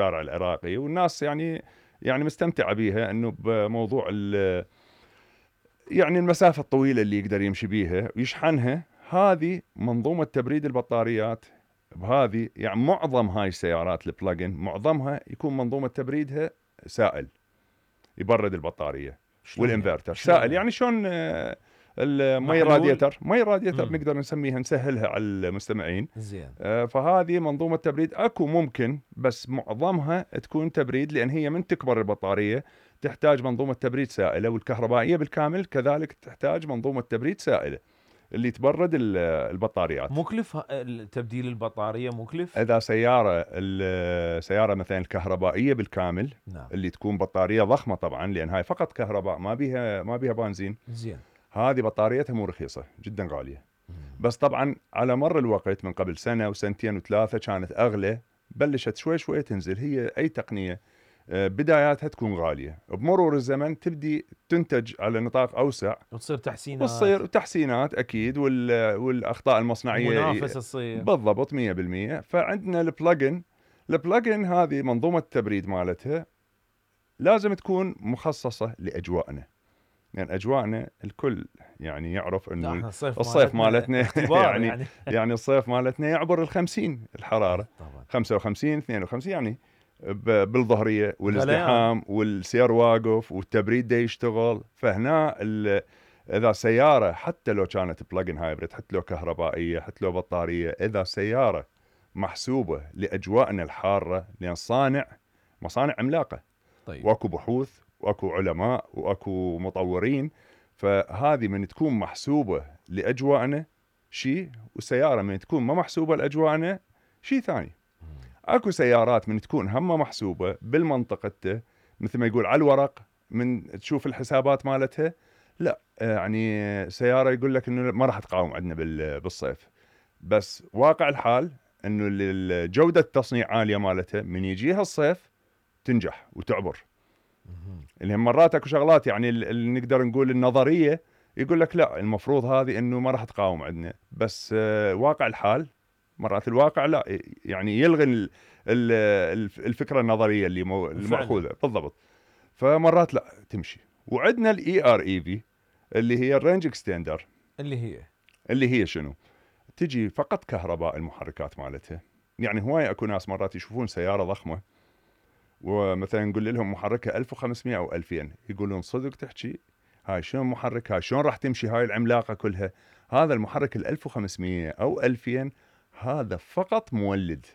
الشارع العراقي، والناس يعني مستمتعة بيها، انه بموضوع يعني المسافة الطويلة اللي يقدر يمشي بيها ويشحنها. هذه منظومة تبريد البطاريات بهذه، يعني معظم هاي السيارات البلاجن معظمها يكون منظومة تبريدها سائل يبرد البطارية، والانفرتر سائل. يعني شلون المي راديتر نقدر نسميها، نسهلها على المستمعين. زين. فهذه منظومة تبريد اكو ممكن، بس معظمها تكون تبريد، لان هي من تكبر البطارية تحتاج منظومة تبريد سائلة، والكهربائية بالكامل كذلك تحتاج منظومة تبريد سائلة اللي تبرد البطاريات. مكلف تبديل البطارية؟ مكلف اذا السيارة مثلا الكهربائية بالكامل، نعم. اللي تكون بطارية ضخمة طبعا، لان هاي فقط كهرباء، ما بيها بنزين. زين. هذه بطاريتها مو رخيصة، جدا غالية. بس طبعا على مر الوقت من قبل سنة وسنتين وثلاثة كانت اغلى، بلشت شوي شوي تنزل. هي اي تقنية بداياتها تكون غالية، بمرور الزمن تبدي تنتج على نطاق اوسع، وتصير تحسينات، وتصير تحسينات اكيد، والاخطاء المصنعية منافسة تصير. بالضبط 100%. فعندنا البلاجن هذه منظومة التبريد مالتها لازم تكون مخصصة لاجوائنا، يعني اجواءنا الكل يعني يعرف انه الصيف مالتنا يعني الصيف مالتنا يعبر ال50 الحرارة، طبعا. 55 52 يعني بالظهرية، والازدحام والسير واقف والتبريد دا يشتغل. فهنا اذا سيارة حتى لو كانت بلاجن هايبريد، حتى لو كهربائية، حتى لو بطارية، اذا سيارة محسوبة لاجواءنا الحارة، لان مصانع عملاقة. طيب. واكو بحوث واكو علماء واكو مطورين، فهذه من تكون محسوبة لأجواءنا شيء، وسيارة من تكون ما محسوبة لأجواءنا شيء ثاني. اكو سيارات من تكون هم محسوبة بالمنطقة، مثل ما يقول على الورق، من تشوف الحسابات مالتها لا، يعني سيارة يقول لك انه ما راح تقاوم عندنا بالصيف، بس واقع الحال انه جودة التصنيع عالية مالتها، من يجيها الصيف تنجح وتعبر. اللي مرات اكو شغلات يعني اللي نقدر نقول النظريه يقول لك لا، المفروض هذه انه ما راح تقاوم عندنا، بس واقع الحال مرات الواقع لا، يعني يلغي الفكره النظريه اللي المأخوذه بالضبط. فمرات لا تمشي. وعندنا الاي ار اي في اللي هي الرينج اكستندر، اللي هي شنو؟ تجي فقط كهرباء المحركات مالتها. يعني هواي اكو ناس مرات يشوفون سياره ضخمه، ومثلا نقول لهم محركها 1500 او 2000، يقولون صدق تحكي؟ هاي شلون محرك؟ هاي شلون راح تمشي هاي العملاقه كلها؟ هذا المحرك ال 1500 او 2000 هذا فقط مولد،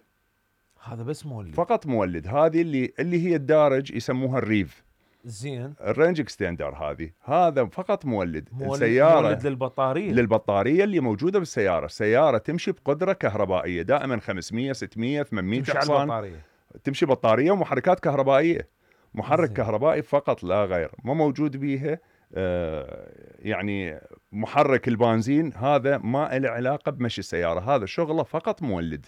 هذا بس مولد، فقط مولد. هذه اللي هي الدارج يسموها الريف. زين. الرينج اكستندر هذا فقط مولد السياره، مولد للبطاريه اللي موجوده بالسياره. السياره تمشي بقدره كهربائيه دائما 500 600 800 حصان، تمشي بطارية ومحركات كهربائية. محرك كهربائي فقط لا غير، ما موجود بيها يعني محرك البنزين هذا ما له علاقة بمشي السيارة. هذا شغله فقط مولد،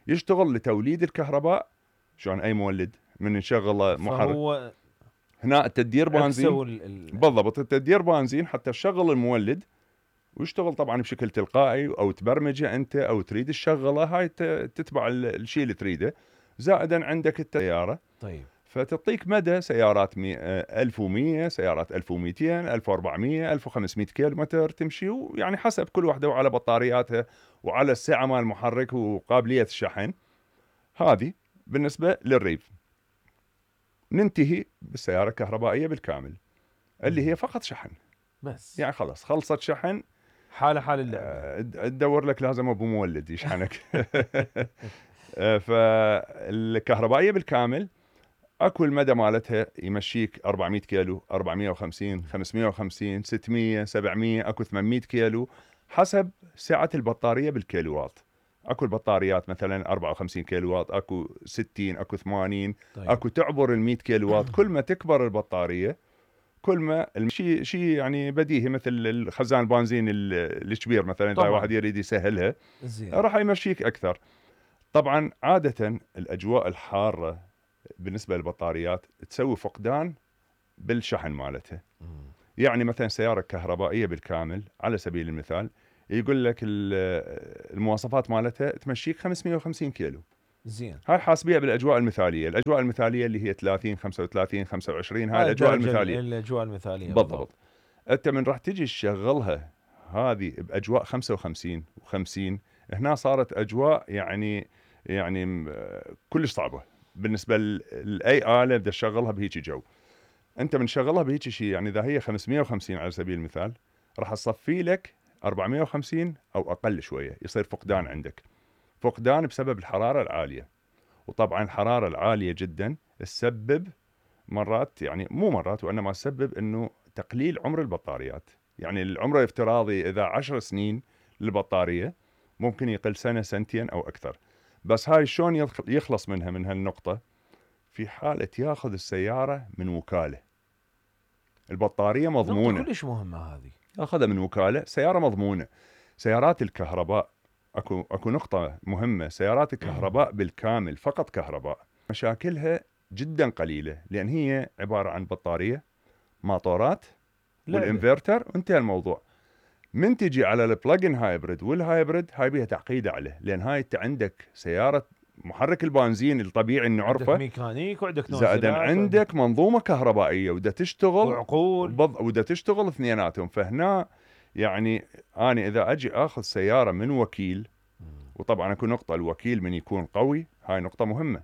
يشتغل لتوليد الكهرباء. شلون أي مولد من نشغله محرك؟ هنا التدير بنزين بالضبط، التدير بنزين حتى تشغل المولد ويشتغل طبعا بشكل تلقائي، أو تبرمجه أنت، أو تريد الشغلة هاي تتبع الشيء اللي تريده. زائدا عندك السيارة، طيب، فتعطيك مدى سيارات 1100، سيارات 1200، 1400، 1500 كيلومتر تمشي، ويعني حسب كل واحدة وعلى بطارياتها وعلى السعة مال المحرك وقابلية الشحن. هذه بالنسبة للريف. ننتهي بالسيارة الكهربائية بالكامل اللي هي فقط شحن بس، يعني خلص خلصت شحن، حال اللعبة. تدور لك لازم ابو مولد يشحنك. فالكهربائية بالكامل اكو المدى مالتها يمشيك 400 كيلو، 450، 550، 600، 700، اكو 800 كيلو حسب سعة البطارية بالكيلوات. اكو البطاريات مثلا 54 كيلوات، اكو 60، اكو 80. طيب. اكو تعبر ال100 كيلوات. كل ما تكبر البطارية كل ما شيء يعني بديهي، مثل الخزان البنزين الكبير مثلا، اذا واحد يريد يسهلها راح يمشيك اكثر. طبعا عادة الاجواء الحارة بالنسبة للبطاريات تسوي فقدان بالشحن مالتها. يعني مثلا سيارة كهربائية بالكامل على سبيل المثال، يقول لك المواصفات مالتها تمشيك 550 كيلو، زين. هاي حاسبيها بالاجواء المثاليه، الاجواء المثاليه اللي هي 30 35 25، هاي الاجواء المثاليه. الاجواء المثاليه بالضبط. انت من راح تجي تشغلها هذه باجواء 55 و50، هنا صارت اجواء يعني كلش صعبه بالنسبه لاي اله بدها تشغلها بهيك جو. انت من شغلها بهيك شيء، يعني اذا هي 550 على سبيل المثال، راح تصفي لك 450 او اقل شويه، يصير فقدان عندك، فقدان بسبب الحراره العاليه. وطبعا الحراره العاليه جدا تسبب مرات، يعني مو مرات وانما تسبب انه تقليل عمر البطاريات. يعني العمر الافتراضي اذا 10 سنين للبطاريه ممكن يقل سنه سنتين او اكثر. بس هاي شلون يخلص منها من هالنقطه؟ في حاله ياخذ السياره من وكاله، البطاريه مضمونه. نقطة كلش مهمه هذه. اخذها من وكاله، سياره مضمونه. سيارات الكهرباء اكو نقطه مهمه، سيارات الكهرباء بالكامل فقط كهرباء مشاكلها جدا قليله، لان هي عباره عن بطاريه، ماطورات، والانفرتر، وانتهى الموضوع. من تجي على البلاجن هايبريد والهايبريد، هاي بيها تعقيده عليه، لان هاي انت عندك سياره محرك البنزين الطبيعي اللي نعرفه، عندك ميكانيك وعندك زائدا عندك منظومه كهربائيه ودا تشتغل وعقول ودا تشتغل اثنيناتهم. فهنا يعني انا اذا اجي اخذ سياره من وكيل، وطبعا اكو نقطه، الوكيل من يكون قوي، هاي نقطه مهمه.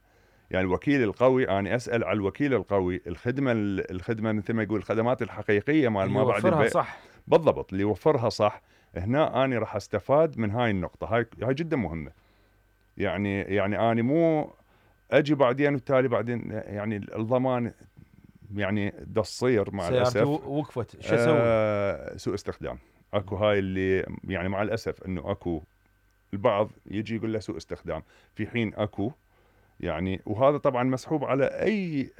يعني الوكيل القوي، انا اسال على الوكيل القوي، الخدمه مثل ما يقول الخدمات الحقيقيه مال ما بعد البيع، صح. بالضبط، اللي يوفرها صح. هنا انا راح استفاد من هاي النقطه، هاي جدا مهمه. يعني انا مو اجي بعدين والتالي بعدين يعني الضمان يعني دا تصير مع الاسف وقفت، شو اسوي؟ سوء استخدام. اكو هاي اللي يعني مع الاسف انه اكو البعض يجي يقول له سوء استخدام، في حين اكو يعني، وهذا طبعا مسحوب على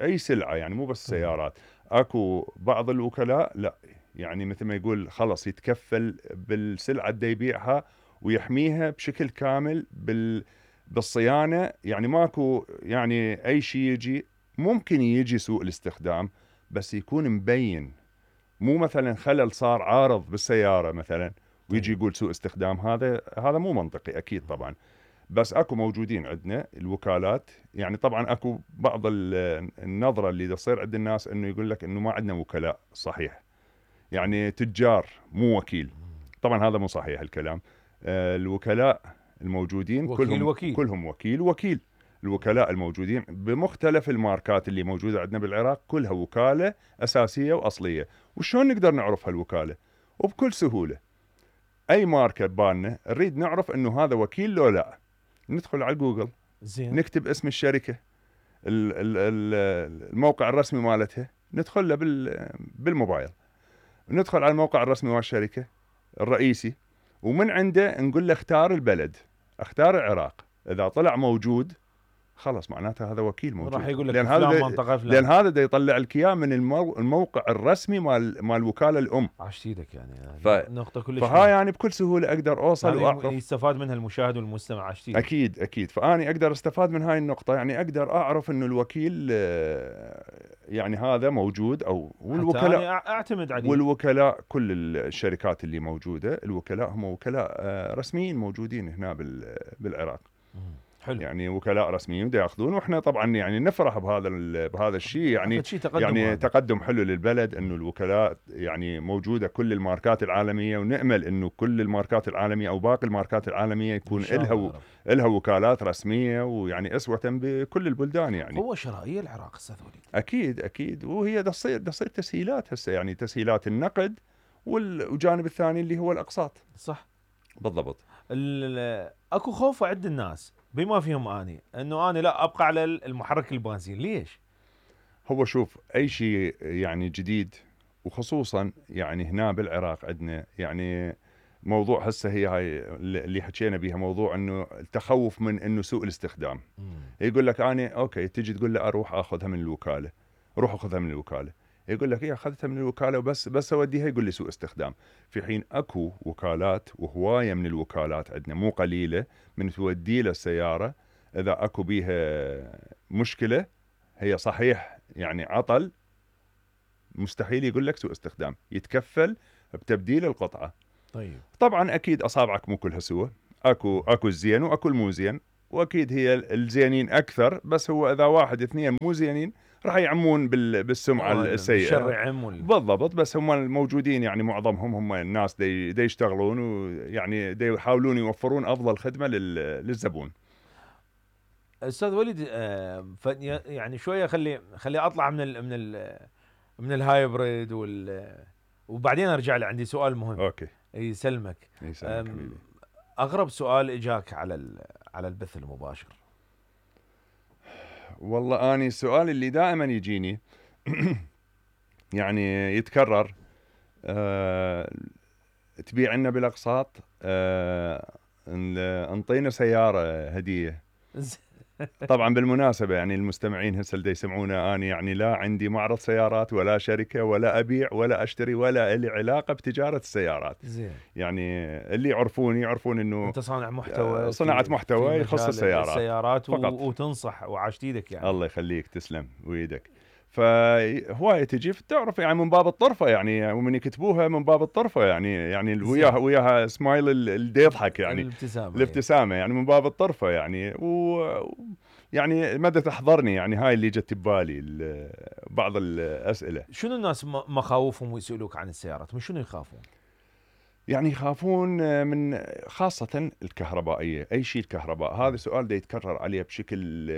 اي سلعه، يعني مو بس سيارات. اكو بعض الوكلاء لا، يعني مثل ما يقول خلص يتكفل بالسلعه اللي يبيعها ويحميها بشكل كامل بالصيانه. يعني ماكو يعني اي شيء يجي، ممكن يجي سوء الاستخدام بس يكون مبين، مو مثلا خلل صار عارض بالسياره مثلا ويجي يقول سوء استخدام. هذا مو منطقي اكيد طبعا. بس اكو موجودين عندنا الوكالات، يعني طبعا اكو بعض النظره اللي تصير عند الناس انه يقول لك انه ما عندنا وكلاء، صحيح، يعني تجار مو وكيل. طبعا هذا مو صحيح الكلام. الوكلاء الموجودين كلهم وكيل. الوكلاء الموجودين بمختلف الماركات اللي موجوده عندنا بالعراق كلها وكاله اساسيه واصليه. وشلون نقدر نعرف هالوكاله؟ وبكل سهوله، اي ماركه ببالنا نريد نعرف انه هذا وكيل لو لا، ندخل على جوجل، زين، نكتب اسم الشركه، الموقع الرسمي مالتها، ندخل له بالموبايل، ندخل على الموقع الرسمي مال الشركه الرئيسي، ومن عنده نقول له اختار البلد، اختار العراق. اذا طلع موجود خلص معناته هذا وكيل موجود، راح يقول لك لان هذا دا يطلع لك اياه من الموقع الرسمي مال الوكاله الام. عشت ايدك يعني نقطه كلش فهاي يعني بكل سهوله اقدر اوصل واعرف، يستفاد منها المشاهد والمستمع. عشت ايدك. اكيد. فاني اقدر استفاد من هاي النقطه، يعني اقدر اعرف انه الوكيل يعني هذا موجود، او والوكلاء اعتمد عليه. والوكلاء كل الشركات اللي موجوده، الوكلاء هم وكلاء رسميين موجودين هنا بالعراق. حلو. يعني وكلاء رسميين دا ياخذون، واحنا طبعا يعني نفرح بهذا الشيء، يعني تقدم حلو للبلد انه الوكلاء يعني موجوده كل الماركات العالميه، ونامل انه كل الماركات العالميه او باقي الماركات العالميه يكون لها وكالات رسميه، ويعني اسوه بكل البلدان. يعني هو شرائيه العراق استاذ وليد. اكيد وهي دا تصير تسهيلات هسه، يعني تسهيلات النقد والجانب الثاني اللي هو الاقساط. صح، بالضبط. اكو خوف عند الناس بما فيهم انه انا لا ابقى على المحرك البنزين. ليش؟ هو شوف، اي شيء يعني جديد، وخصوصا يعني هنا بالعراق عندنا يعني موضوع هسه هي هاي اللي حكينا بيها، موضوع انه التخوف من انه سوء الاستخدام. يقول لك انا اوكي، تجي تقول له اروح اخذها من الوكاله، روح اخذها من الوكاله، يقول لك اخذتها من الوكاله وبس اوديها، يقول لي سوء استخدام. في حين اكو وكالات وهوايه من الوكالات عندنا مو قليله، من تودي له السياره اذا اكو بيها مشكله، هي صحيح يعني عطل، مستحيل يقول لك سوء استخدام، يتكفل بتبديل القطعه. طيب طبعا اكيد اصابعك مو كلها سوى، اكو الزين واكو المو زين، واكيد هي الزينين اكثر، بس هو اذا واحد اثنين مو زينين راح يعمون بالسمعه السيئه. الشر يعم بالضبط. بس هم الموجودين يعني معظمهم هم الناس دي يشتغلون، ويعني دي يحاولون يوفرون افضل خدمه للزبون. استاذ وليد، يعني شويه خلي اطلع من الهايبريد وبعدين ارجع لي، عندي سؤال مهم. اوكي. يسلمك. يسلمك حبيبي. اغرب سؤال اجاك على البث المباشر؟ والله اني السؤال اللي دائما يجيني يعني يتكرر، تبيع لنا بالاقساط، انطينا سياره هديه. طبعا بالمناسبه يعني المستمعين هسه اللي يسمعونا، اني يعني لا عندي معرض سيارات ولا شركه ولا ابيع ولا اشتري ولا لي علاقه بتجاره السيارات. زين. يعني اللي يعرفون انه انت صانع محتوى، صناعه محتوى يخص السيارات فقط. وتنصح وعاشت ايدك يعني. الله يخليك، تسلم ويدك. فهوايه تجي تعرف يعني من باب الطرفه، يعني ومن يكتبوها من باب الطرفه، يعني وياها سمايل اللي يضحك، يعني الابتسامه يعني من باب الطرفه يعني. يعني مدى تحضرني يعني هاي اللي جت ببالي بعض الاسئله. شنو الناس مخاوفهم ويسالوك عن السيارات؟ من شنو يخافون؟ يعني يخافون من خاصة الكهربائية، أي شيء الكهرباء. هذا سؤال دا يتكرر عليه بشكل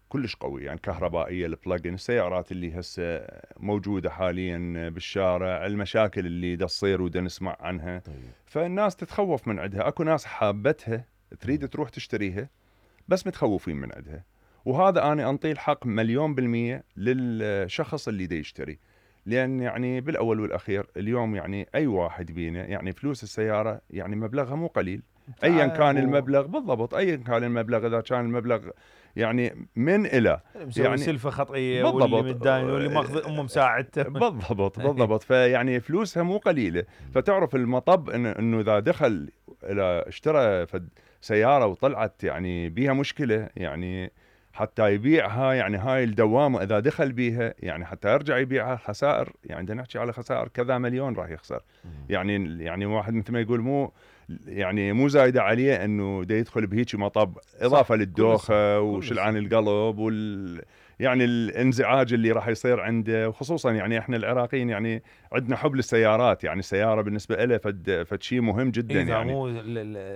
كلش قوي. يعني كهربائية، البلاجن، السيارات اللي هسه موجودة حاليا بالشارع، المشاكل اللي دا تصير ودا نسمع عنها. طيب. فالناس تتخوف من عندها. أكو ناس حابتها تريد تروح تشتريها بس متخوفين من عندها. وهذا أنا أنطيه الحق 100% للشخص اللي دا يشتري. لأن يعني بالأول والأخير اليوم يعني أي واحد بينا يعني فلوس السيارة يعني مبلغها مو قليل أيا كان المبلغ. بالضبط، أيا كان المبلغ. إذا كان المبلغ يعني من إلى يعني سلفة خطئية، واللي متداين واللي ماخذ أمه مساعدته. بالضبط. فيعني فلوسها مو قليلة. فتعرف المطب إنه إذا دخل إلى اشترى سيارة وطلعت يعني بيها مشكلة، يعني حتى يبيعها، يعني هاي الدوامة إذا دخل بيها يعني حتى يرجع يبيعها خسائر. يعني بدنا نحكي على خسائر كذا مليون راح يخسر. يعني واحد مثل ما يقول مو زايدة عليه انه دا يدخل بهيك مطب، اضافة للدوخة وشلعان القلب يعني الانزعاج اللي راح يصير عنده. وخصوصا يعني احنا العراقيين يعني عندنا حب للسيارات. يعني السيارة بالنسبة له فد شيء مهم جدا. يعني مو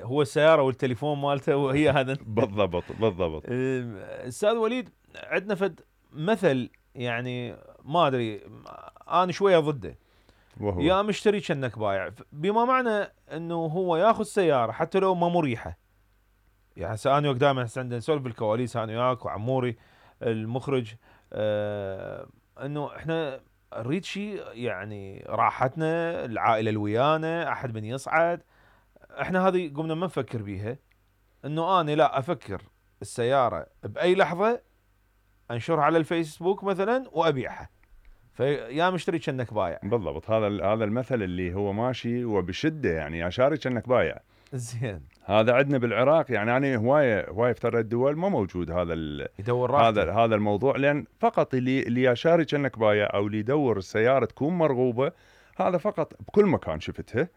هو السيارة والتليفون مالته وهي هذا. بالضبط. استاذ وليد، عندنا فد مثل يعني ما ادري، انا شوية ضده. وهو يا مشتري كأنك بايع، بما معنى انه هو ياخذ سيارة حتى لو ما مريحة. يعني هسه انا دائما عندنا نسولف بالكواليس انا وياك وعموري المخرج، انه احنا نريد شيء يعني راحتنا، العائله اللي ويانا، احد من يصعد. احنا هذه قمنا ما نفكر بيها، انه انا لا افكر السياره باي لحظه انشرها على الفيسبوك مثلا وابيعها، فيا مشتري كأنك بايع. بالضبط. هذا المثل اللي هو ماشي وبشده، يعني يا شاري كأنك بايع. زين. هذا عندنا بالعراق، يعني انا هوايه في الدول ما موجود يدور هذا الموضوع. لان فقط اللي يا شاري كأنك بايع او اللي يدور السياره تكون مرغوبه، هذا فقط بكل مكان شفتها.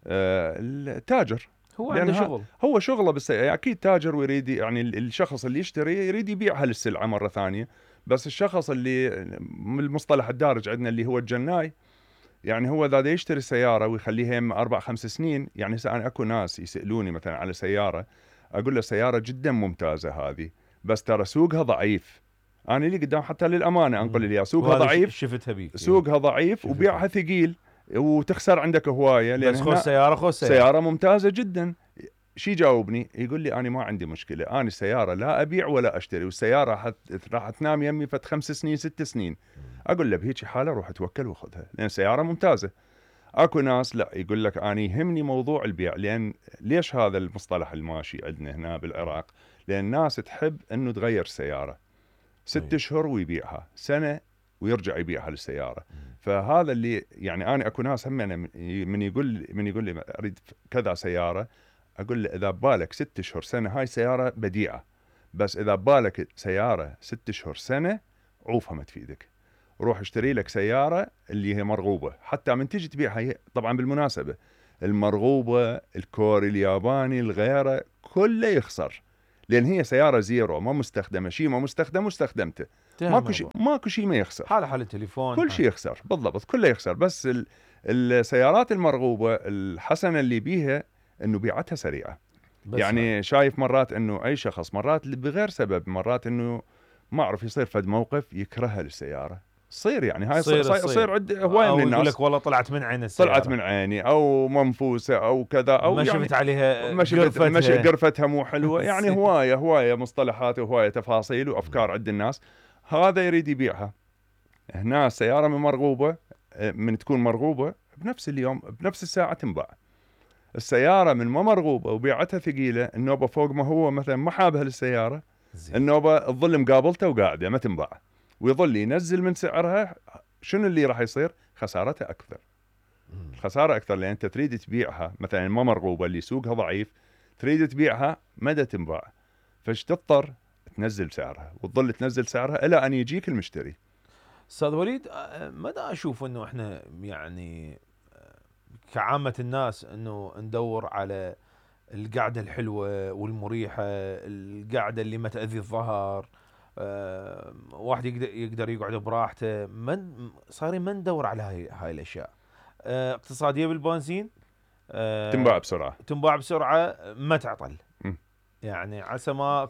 التاجر هو عنده شغل، هو شغله بالسيارة. اكيد تاجر ويريد يعني الشخص اللي يشتري يريد يبيعها للسلعه مره ثانيه. بس الشخص اللي المصطلح الدارج عندنا اللي هو الجناي، يعني هو اذا يشتري سياره ويخليها 4-5 سنين. يعني انا اكو ناس يسالوني مثلا على سياره، اقول له سياره جدا ممتازه هذه، بس ترى سوقها ضعيف. انا اللي قدام حتى للامانه انقل لي سوقها ضعيف، شفتها بيك سوقها ضعيف وبيعها ثقيل وتخسر عندك هوايه. لان بس خذ سياره ممتازه جدا. شي جاوبني يقول لي انا ما عندي مشكله، انا السياره لا ابيع ولا اشتري، والسياره راح تنام يمي فت 5 سنين 6 سنين. اقول له بهيك حاله روح توكل وخذها لان سياره ممتازه. اكو ناس لا يقول لك انا يهمني موضوع البيع. لان ليش هذا المصطلح الماشي عندنا هنا بالعراق؟ لان الناس تحب انه تغير السياره 6 اشهر ويبيعها، سنه ويرجع يبيعها للسياره. فهذا اللي يعني انا اكو ناس هم من يقول لي اريد كذا سياره، اقول له اذا ببالك 6 اشهر سنه هاي سياره بديعه، بس اذا ببالك سياره 6 اشهر سنه عوفها ما تفيدك. روح اشتري لك سياره اللي هي مرغوبه، حتى من تيجي تبيعها. طبعا بالمناسبه المرغوبه الكوري الياباني الغيره كله يخسر، لان هي سياره زيرو ما مستخدمه، شيء ما مستخدم واستخدمته ماكو شيء ما يخسر، حال التليفون كل شيء يخسر بالضبط، كله يخسر. بس السيارات المرغوبه الحسنه اللي بيها انه بيعتها سريعه. يعني شايف مرات انه اي شخص مرات بغير سبب، مرات انه ما اعرف يصير فد موقف يكرهها للسياره، تصير يعني هاي صير عند هوايه من الناس، يقول لك والله طلعت من عين السياره، طلعت من عيني او منفوسه او كذا، او ما يعني شفت عليها قرفتها مو حلوه يعني هوايه مصطلحات وهوايه تفاصيل وافكار عند الناس. هذا يريد يبيعها. هنا السياره من مرغوبه، من تكون مرغوبه بنفس اليوم بنفس الساعه تنباع. السياره من ما مرغوبه وبيعتها ثقيله، النوبه فوق ما هو مثلا ما حابها للسياره، النوبه تظل مقابلته وقاعده ما تنباع، ويظل ينزل من سعرها. شنو اللي راح يصير؟ خسارتها اكثر. الخساره اكثر، لان انت تريد تبيعها مثلا ما مرغوبه اللي سوقها ضعيف، تريد تبيعها مدى تنباع، فايش تضطر تنزل سعرها وتظل تنزل سعرها الى ان يجيك المشتري. استاذ وليد، مدى اشوف انه احنا يعني كعامة الناس انه ندور على القعدة الحلوة والمريحة، القعدة اللي ما تأذي الظهر، واحد يقدر يقعد براحته، صايرين ما ندور على هاي الاشياء. اقتصادية بالبنزين، تنباع بسرعة ما تعطل. يعني عسى ما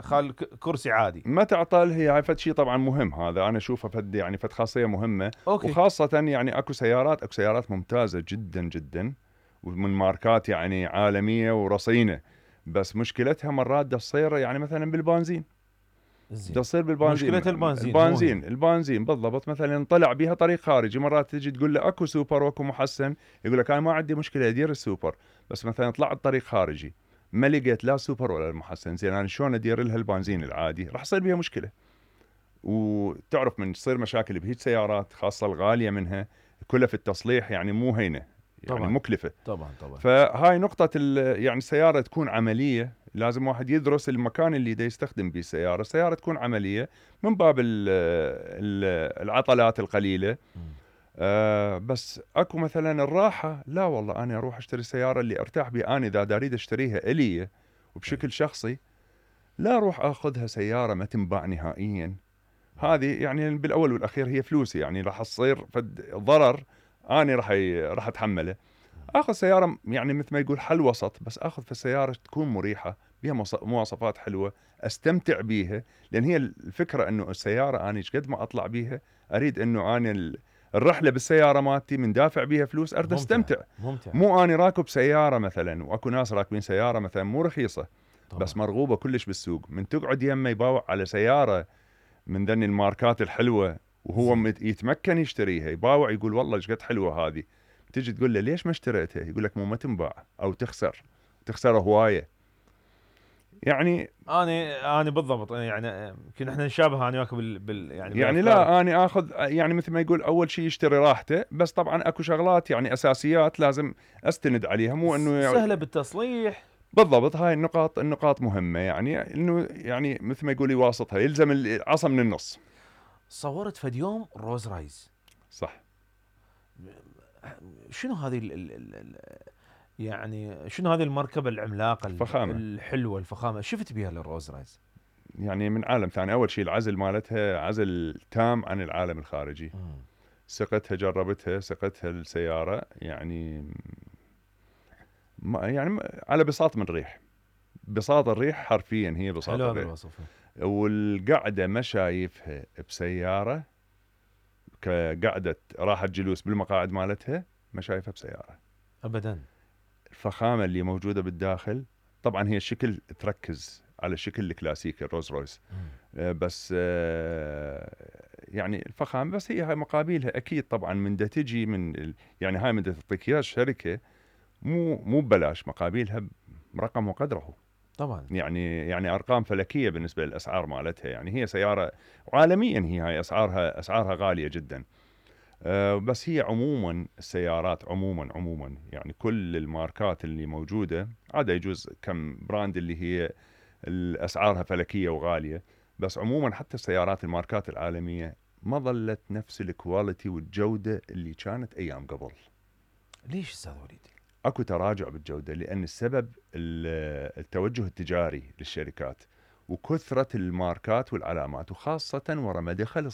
خال كرسي عادي ما تعطل. هي فد شيء طبعا مهم، هذا انا اشوفه فد يعني فد خاصيه مهمه. أوكي. وخاصه يعني اكو سيارات ممتازه جدا جدا ومن ماركات يعني عالميه ورصينه، بس مشكلتها مرات تصير يعني مثلا بالبنزين. تصير بالبنزين، مشكلة البنزين بالضبط. مثلا طلع بها طريق خارجي، مرات تجي تقول له اكو سوبر واكو محسن، يقول لك انا ما عندي مشكله ادير السوبر، بس مثلا طلعت طريق خارجي ما لقيت لا سوبر ولا المحسن، زين انا شلون ادير لها البنزين العادي؟ راح يصير بها مشكله. وتعرف من تصير مشاكل بهيج سيارات خاصه الغاليه منها، كلها في التصليح يعني مو هينه، يعني طبعًا مكلفه. طبعا. فهاي نقطه يعني السياره تكون عمليه، لازم واحد يدرس المكان اللي دا يستخدم به السياره تكون عمليه من باب العطلات القليله. بس اكو مثلا الراحه، لا والله انا اروح اشتري السياره اللي ارتاح بها، انا اذا اريد اشتريها الي وبشكل شخصي، لا اروح اخذها سياره ما تنباع نهائيا. هذه يعني بالاول والاخير هي فلوسي، يعني راح تصير ضرر انا راح اتحمله. اخذ سياره يعني مثل ما يقول حل وسط، بس اخذ في السياره تكون مريحه بها مواصفات حلوه استمتع بيها. لان هي الفكره انه السياره انا ايش قد ما اطلع بيها اريد انه انا الرحله بالسياره مالتي من دافع بيها فلوس اريد استمتع. ممتع. مو اني راكب سياره مثلا، واكو ناس راكبين سياره مثلا مو رخيصه طبعا، بس مرغوبه كلش بالسوق، من تقعد يمه يباوع على سياره من ذني الماركات الحلوه وهو يتمكن يشتريها، يباوع يقول والله ايش قد حلوه هذه، تجي تقول له ليش ما اشتريتها؟ يقول لك مو ما تنباع او تخسر هوايه. يعني انا بالضبط، يعني يمكن احنا نشابه انا وياك يعني لا انا اخذ يعني مثل ما يقول اول شيء يشتري راحته، بس طبعا اكو شغلات يعني اساسيات لازم استند عليها، مو انه سهله بالتصليح. بالضبط. هاي النقاط مهمه، يعني انه يعني مثل ما يقول يواسطها، يلزم العصا من النص. صورت فد يوم روز رايز، صح. شنو هذه يعني شنو هذه المركبه العملاقه الحلوه الفخامه شفت بها للروز رايز؟ يعني من عالم ثاني. اول شيء العزل مالتها عزل تام عن العالم الخارجي. سقتها جربتها سقتها السياره يعني يعني على بساط من ريح، بساط الريح حرفيا هي بساط الريح. حلو هذا الوصف. والقعده ما شايفها بسياره كقعده راحه جلوس بالمقاعد مالتها، ما شايفها بسياره ابدا. الفخامه اللي موجوده بالداخل، طبعا هي الشكل تركز على الشكل الكلاسيكي الروز رويس، بس يعني الفخامه، بس هاي مقابلها اكيد طبعا من دا تجي من يعني هاي من دا تعطيك اياها الشركه مو ببلاش، مقابلها برقم وقدره طبعا. يعني ارقام فلكيه بالنسبه للاسعار مالتها. يعني هي سياره عالميا هاي اسعارها غاليه جدا. بس هي عموما السيارات عموما يعني كل الماركات اللي موجوده، عاد يجوز كم براند اللي هي الاسعارها فلكيه وغاليه، بس عموما حتى السيارات الماركات العالميه ما ظلت نفس الكواليتي والجوده اللي كانت ايام قبل. ليش استاذ وليد؟ اكو تراجع بالجوده، لان السبب التوجه التجاري للشركات وكثره الماركات والعلامات، وخاصه ورا ما دخل